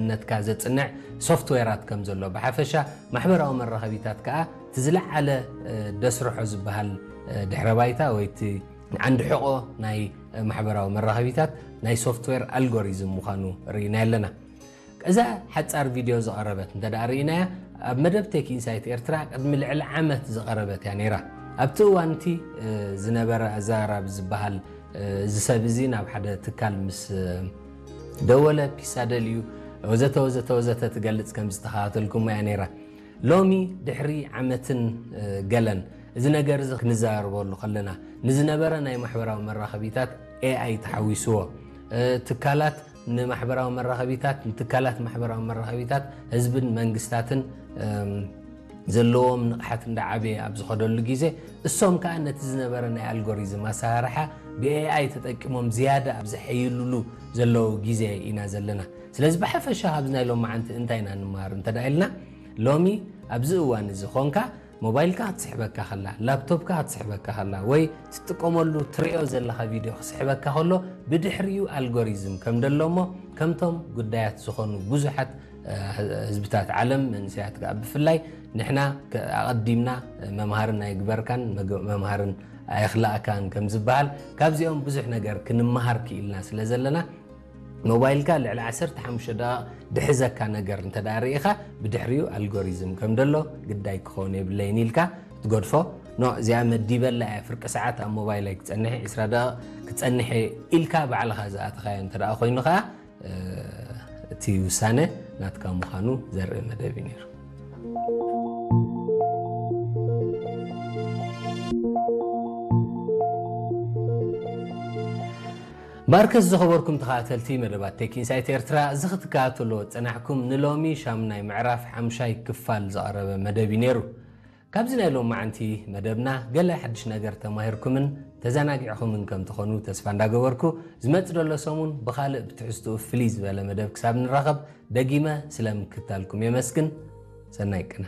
ነትካ ዘጽንዕ ሶፍትዌራት ከም ዘሎ፣ ብሓፈሻ ማሕበራዊ መራኸቢታት ከኣ እቲ ዝለዓለ ደስርሖ ዝበሃል ድሕረ ባይታ ወይ እቲ ዓንዲ ሕቖ ናይ ማሕበራዊ መራኸቢታት ናይ ሶፍትዌር ኣልጎሪዝም ምዃኑ ርኢና ኣለና። እዛ ሓጻር ቪድዮ ዝቐረበት እንተ ደኣ ርኢናያ፣ ኣብ መደብ ቴክ ኢንሳይት ኤርትራ ቅድሚ ልዕሊ ዓመት ዝቐረበት እያ ነይራ። ኣብቲ እዋን እቲ ዝነበረ ኣዘራራቢ ዝበሃል እዚ ሰብ እዚ ናብ ሓደ ትካል ምስ ደወለ፣ ፒሳ ደልዩ፣ ወዘተ ወዘተ ወዘተ ትገልጽ ከም ዝተኸታተልኩሞ እያ ነይራ። ሎሚ ድሕሪ ዓመትን ገለን እዚ ነገር እዚ ክንዘራረበሉ ከለና፣ ንዝነበረ ናይ ማሕበራዊ መራኸቢታት ኤኣይ ተሓዊስዎ፣ ትካላት ንማሕበራዊ መራኸቢታት ንትካላት ማሕበራዊ መራኸቢታት ህዝብን መንግስታትን ዘለዎም ንቕሓት እንዳዓበየ ኣብ ዝኸደሉ ግዜ፣ እሶም ከኣ ነቲ ዝነበረ ናይ ኣልጎሪዝም ኣሰራርሓ ብኤኣይ ተጠቂሞም ዝያዳ ኣብ ዘሐይሉሉ ዘለዉ ግዜ ኢና ዘለና። ስለዚ ብሓፈሻ ካብዚ ናይ ሎማዓንቲ እንታይ ኢና ንመሃር እንተ ደኣ ኢልና፣ ሎሚ ኣብዚ እዋን እዚ ኾንካ ሞባይልካ ክትስሕበካ ከላ፣ ላፕቶፕካ ክትስሕበካ ከላ፣ ወይ ትጥቀመሉ ትርእዮ ዘለኻ ቪድዮ ክስሕበካ ከሎ፣ ብድሕሪኡ ኣልጎሪዝም ከም ደሎ እሞ፣ ከምቶም ጉዳያት ዝኾኑ ብዙሓት ህዝብታት ዓለም፣ መንእሰያት ከኣ ብፍላይ ንሕና ኣቐዲምና መምሃርን ኣይግበርካን መምሃርን ኣየኽላእካን ከም ዝበሃል፣ ካብዚኦም ብዙሕ ነገር ክንመሃር ክኢልና ስለ ዘለና፣ ሞባይልካ ልዕሊ ዓሰርተ ሓሙሽተ ደቂቕ ድሕዘካ ነገር እንተ ደኣ ርኢኻ፣ ብድሕሪኡ ኣልጎሪዝም ከም ደሎ ግዳይ ክኸውን የብለይን ኢልካ ትገድፎ። ኖ፣ እዚኣ መዲበላ እያ፣ ፍርቂ ሰዓት ኣብ ሞባይለይ ክጸንሕ፣ ዕስራ ደቂቕ ክጸንሕ እየ ኢልካ ባዕልኻ ዝኣተኻዮ እንተ ደኣ ኮይኑ ኸኣ፣ እቲ ውሳነ ናትካ ምዃኑ ዘርኢ መደብ እዩ ነይሩ። ባርከስ ዝኸበርኩም ተኸታተልቲ መደባት ቴክ ኢንሳይት ኤርትራ፣ እዚ ክትከታተልዎ ዝጸናሕኩም ንሎሚ ሻምናይ ምዕራፍ ሓምሻይ ክፋል ዝቐረበ መደብ እዩ ነይሩ። ካብዚ ናይ ሎማዓንቲ መደብና ገለ ሓድሽ ነገር ተማሂርኩምን ተዘናጊዕኹምን ከም ትኾኑ ተስፋ እንዳገበርኩ፣ ዝመጽእ ዘሎ ሰሙን ብኻልእ ብትሕዝትኡ ፍልይ ዝበለ መደብ ክሳብ ንራኸብ ደጊመ ስለ ምክታልኩም የመስግን። ሰናይ ቅነ።